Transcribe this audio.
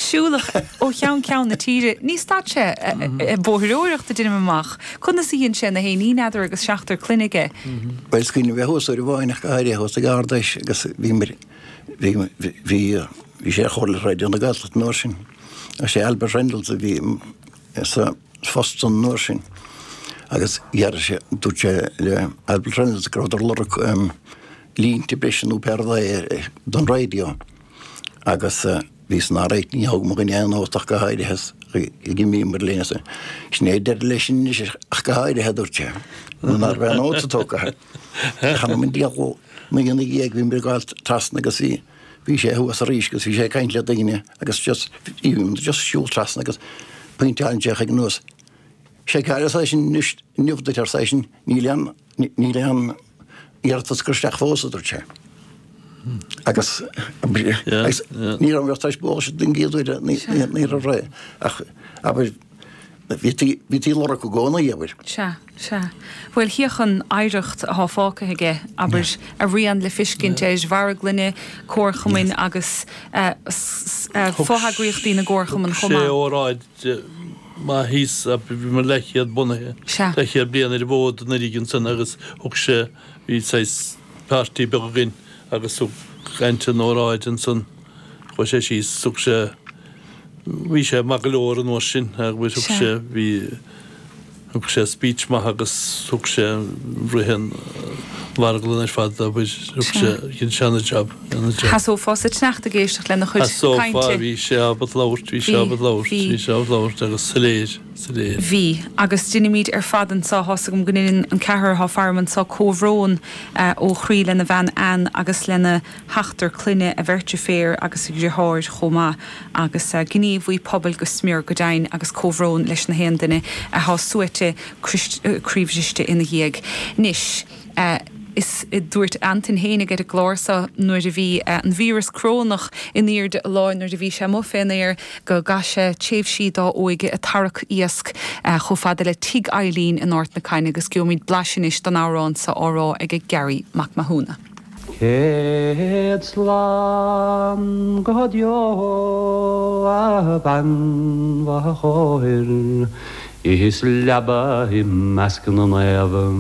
Siúlach ó cheann ceann na tíre. Ní stad sé ag bóithreoireacht, deinim amach. Conas a dhein sé na héin? Ní n'fheadar agus seachtar clainne aige. Bhuel, is cuimhin liom bheith thuas uair amháin ach go háirithe thuas ag Ard Fheis agus bhí bhí bhí bhí sé ar Chomhairle Raidió na Gaeltachta an uair sin. Is é Albert Reynolds a bhí sa phost san uair sin agus dhear sé, dúirt sé le Albert Reynolds go rabhadar ag lorg línte breise nó pé rud é don raidió agus bhí san alright, ní thóg mo dhuine aon nóta ach go háirithe is d'imíomar linn as sin é deireadh leis anois ach go háirithe a dúirt sé, nó ná raibh aon nóta tógtha. Chan an diabhal ina dhiaidh bhíomar ag gabháil trasna agus bhí bhí sé thuas arís agus bhí sé ag caint le daoine agus just bhí just siúl trasna agus pointeálann sé chuige anuas. Seiceáil arsa eisean anois inniu duit arsa eisean níl aon níl aon iarratas curtha isteach fós a dúirt sé. Agus agus ní raibh mé tar éis bualadh den gcéad uair ní raibh ré ach abair bhítí bhítí ag lorg i gcónaí abair. Sea. Sea. Bhuel, féach an oidhreacht athá fágtha aige, abair, a rian le fiscint ar mharglainne, comharchumainn agus fo-eagraíochtaí na gcomharchumann chomh maith. Thug sé óráid maith thíos, bhí muid leathchéad bunaithe, leathchéad bliain ar an bhfód anuraidh ansan agus thug sé, bhí saghas party beag againn agus thug Anton óráid ansan, chuaigh sé síos, thug sé, Bhí sé maith go leor an uair sin agus thug sé, bhí, thug sé speech maith agus thug sé rith an mharglann ar fad abair, thug sé, dhein sé ana-jab, ana-jab. Sheasófá sa tsneachta ag éisteacht lena chuid cainte. Sheasófá, bhí sé ábalta labhairt, bhí sé ábalta labhairt, bhí sé ábalta labhairt agus soiléir, soiléir. Bhí, agus deinimíd ar fad anso, tá's agam go ndeineann an ceathrar atá faram anso comhbhrón ó chroí lena bhean Ann agus lena sheachtar clainne, a bheirt deirféar agus a dhriotháir chomh maith, agus gníomhaí pobail go smior go deimhin, agus comhbhrón leis na haon duine athá suaite croíbhriste ina dhiaidh. Anois, is dúirt Antain fhéinig ar an gclár so nuair a bhí an víreas corónach in airde a láin nuair a bhí sé amuigh fén aer go gcaith sé tréimhsí dá óige ag tarrac iasc chomh fada le Tigh Eileen in Ard na Caithne agus gheobhaimid blaiseadh anois den amhrán so á rá ag Garry Mac Mathúna. Céad slán go deo a bhean chóir is leaba i measc na naomh.